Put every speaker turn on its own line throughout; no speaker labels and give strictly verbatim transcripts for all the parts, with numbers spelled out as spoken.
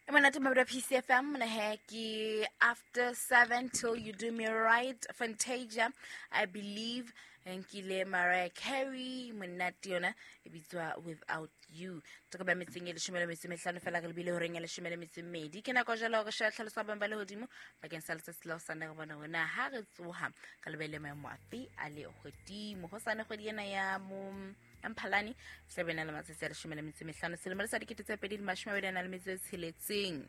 E monate mabedi P C F M mona he ke after seven till you do me right Fantasia I believe nkile Mariah Carey monate yona e bitswa Without You. Toko ba metseng e leshome le metso e mehlano fela re lebile horeng ya leshome le metso e mmedi. Ke nako jwale hore sheba tlhaloso ya boemo ba lehodimo bakeng sa letsatsi la hosane re bona hore na ha re tsoha re lebelle maemo afe a lehodimo. Hosane kgwedi ena ya mo Mphalane tla be na le matsatsi a leshome le metso e mehlano selemo sa dikete tse pedi le mashome a mabedi a nang le metso e tsheletseng.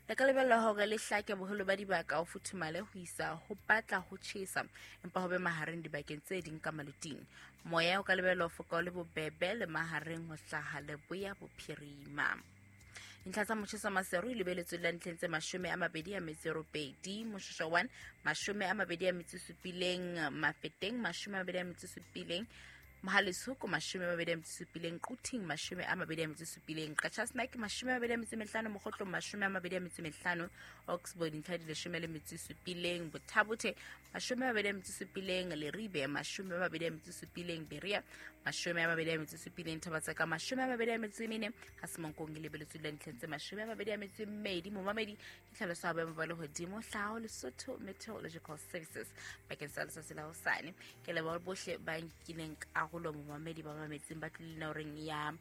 Le ka lebella hore le hlake boholo ba dibaka ho futhumale ho isa ho batla ho tjhesa empa ho be mahareng dibakeng tse ding ka maluting. Moya o ka lebellwa ho foka o le bobebe le mahareng ho hlaha leboya bophirima. Dintlha tsa motjheso wa Maseru e lebeletswe le ntlheng tse mashome a mabedi a metso e robedi, Moshoeshoe one, mashome a mabedi a metso e supileng, Mafeteng, mashome a mabedi a metso e supileng, Mohale'shoek, mashome a mabedi a metso e supileng, Quthing, mashome a mabedi a metso e supileng, Qacha's Nek, mashome a mabedi a metso e mehlano, Mokhotlong, mashome a mabedi a metso e mehlano, Oxbow, dintlha di leshome le metso e supileng, Botha-Bothe, mashome a mabedi a metso e supileng, Leribe, mashome a mabedi a metso e supileng, Berea, mashome a mabedi a metso e supileng, Thaba-Tseka, mashome a mabedi a metso e mene, ha Semonkong e lebeletswe le ntlheng tse mashome a mabedi a metso e mmedi. Momamedi ke tlhaloso ya boemo ba lehodimo hlaho Lesotho Meteorological Services bakeng sa letsatsi la hosane. Ke leboha bohle ba nkileng karolo momamedi ba mametseng ba tlile horeng ya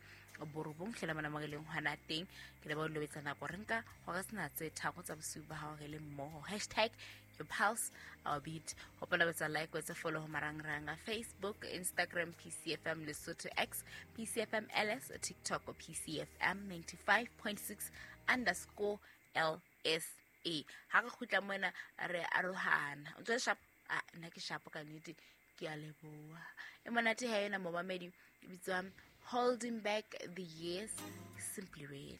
borobong hlela mona mo re leng hona teng. Ke leboha ho lobetsa nako re nka hore sena tse tharo tsa bosiu ba hao re le mmoho. Hashtag your pulse our beat. Hopola ho etsa like, ho etsa follow ho marangrang a Facebook, Instagram, P C F M Lesotho X, P C F M L S, TikTok, P C F M ninety-five point six underscore L S A. Ha re kgutla mona re arohana. O ntse o le sharp? Ah, nna ke sharp ka nnete. Ke a leboha. E monate ha ena momamedi e bitswa Holding Back the Years, Simply Red.